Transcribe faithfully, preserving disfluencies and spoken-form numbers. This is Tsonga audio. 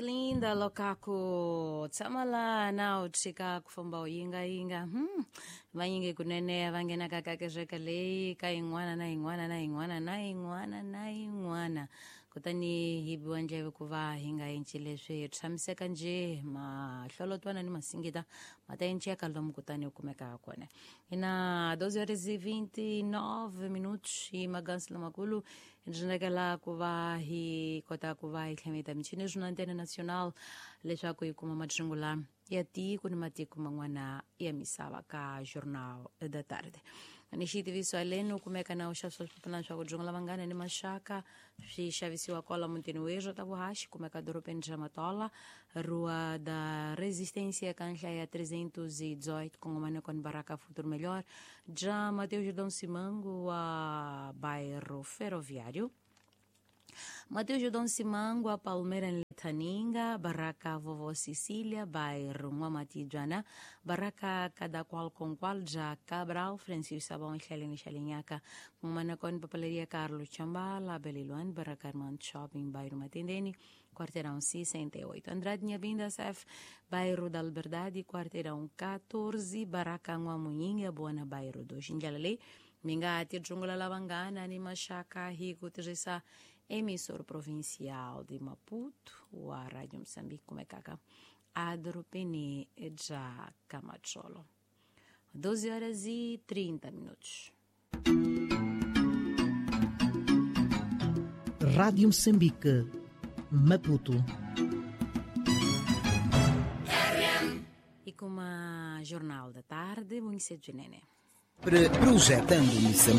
Linda lokaku tshama laha na u tshika ku famba u yingayinga hmm. Vanyingi kunene va nghenaka ka kereke leyi ka yin'wana na yin'wana na yin'wana na yin'wana na yin'wana, kutani hi biwa ndleve ku va hi nga enci leswi hi tshamiseka njhe mahlolotwana ni masingita ma ta enceka lomu kutani u kumeka kona. Ina doze horas e vinte e nove minutos hi magansi lamakulu hi ndzi ku va hi kota ku va hi tlhameta michini swina Antena Nacional leswaku hi kuma madringula ya tiko ni matiko man'wana ya misava ka Jornal da Tarde. Ni xitiviso aleni u kumeka na u xavisa swipapalani swa ku dyongela vanghana ni maxaka swi xavisiwa kwala mutini werhu ta vuhaxi kumeka dorobeni ra Matola, Rua da Resistência, ka nhlaya ya trezentos e dezoito, kongomane con Baraka Futuro Melhor, ja Mateus Jordão Simango wa bairro Ferroviário. Mateus Jordão Simango, a Palmeira em Letaninga, Barraca Vovó Cecília, bairro N'wamatijana, Barraca Cada Qual com Qual, já Cabral, Francisco Sabão, Xalini Xalinhaca, Manacon, Papelaria Carlos Chambala, Beliluan, Barraca Armando Shopping, bairro Matendene, quarteirão sessenta e oito. Andrade Nhabinda, S F, bairro da Liberdade, quarteirão quatorze, Barraca N'wamuinha, Buana, bairro do Xinjalale, Mingati, Jungla Lavangana, ni Maxaka, hi ku tirhisa emissor provincial de Maputo, wa Rádio Moçambique, kumekaka adorobeni bya Camachola. doze horas e trinta minutos. Rádio Moçambique, Maputo. E com a Jornal da Tarde, muito cedo, Nene. Projetando Moçambique.